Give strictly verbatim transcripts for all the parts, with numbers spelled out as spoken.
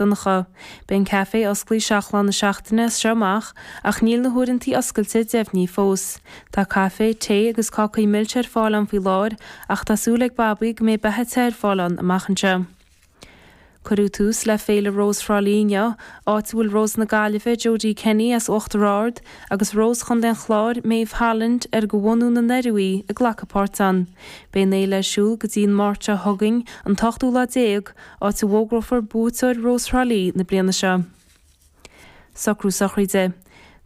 Donncha. Beidh an caifé oscailte seacht lá na seachtaine as seo amach ach níl na huaireanta oscailte deimhnithe fós. Tá caife, tae agus cácaí milse ar fáil ann faoi láthair ach tá súil ag Babaí go mbeidh beatha te ar fáil ann amach anseo. Cuireadh tús le Féile Rós Thrá Lí inniu, áit a bhfuil Rós na Gaillimhe, Jodie Kenny as Uachtar Ard agus Rós Chontae an Chláir, Maeve Holland, ar de bhunadh na nDoirí í, ag glacadh páirt ann. Beidh an fhéile ar siúl go dtí an Máirt seo chugainn, an t-ochtú lá déag, áit a bhfógrófar buaiteoir Rós Thrá Lí na bliana seo. Socrú sochraide.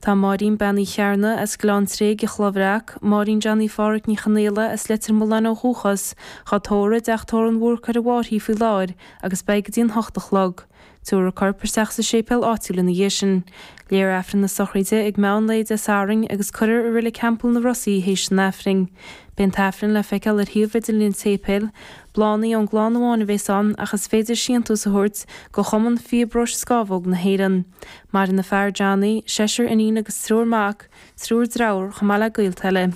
Tá Máirín Bean Uí Chearna as Gleann Tréig i Chloich Bhreac, Máirín Johnny Pháraic Ní Chonaola as Leitir Mealláin ó dhúchas, dhá tórramh i dteach tórraimh an Bhúrcaigh ar an bhFairche faoi láthair agus beidh go dtí an hocht a chlog. Tabharfar a corp isteach sa séipéal áitiúil ina dhiaidh sin. Léifear Aifreann na sochraide ag meán lae Dé Sathairn agus cuirfear i Reilig Theampall na Ros í théis an Aifrinn. Beidh an tAifreann le feiceáil ar shuíomh idirlín an tséipéil. Bláthanna ón gclann amháin a bheas ann ach is féidir síntiús a thabhairt go Chumann Fiobróis Scámhóg na hÉireann. Maireann a fear Johnny, seisear iníon agus triúr mac, triúr dearthár chomh maith le gaolta eile.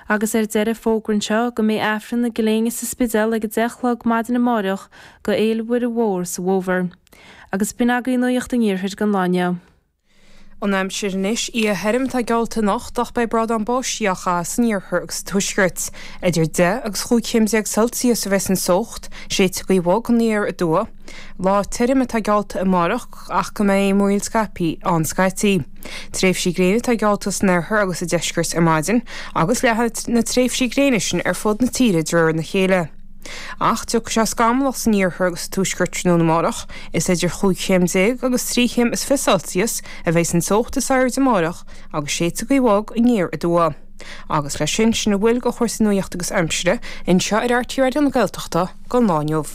Agus ar deireadh fógra anseo go mbeidh Aifreann na Gréine sa Spidéal ag a deich a chlog maidin amárach go Fhéile Mhuire Mhór sa bhFómhar. Agus b'in agaibh nuacht an Iarthair don lá inniu. An aimsir anois, oíche thirim atá geallta anocht ach beidh brádán báistí á chaitheamh san iarthar agus sa tuaisceart. Idir deich agus chúig chéim déag Celsius a bheas an teocht, séidfidh gaoth bhog aniar aduaidh. Lá tirim atá geallta amárach ach go mbeidh múraíl scaipthe ann scaití. Tréimhsí gréine atá geallta san oirthear agus sa deisceart ar maidin agus leathfaidh na tréimhsí gréine sin ar fud na tíre de réir a chéile. Ach tiocfaidh sé scamallach san iarthar agus sa tuaisceart tráthnóna amárach. Is idir chúig chéim déag agus trí chéim is fiche Celsius a bheidh an teocht is airde amárach agus séidfidh gaoth bhog aniar aduaidh. Agus leis sin, sin a bhfuil de chúrsaí nuachta agus aimsire anseo ar RTÉ Raidió na Gaeltachta don lá inniu.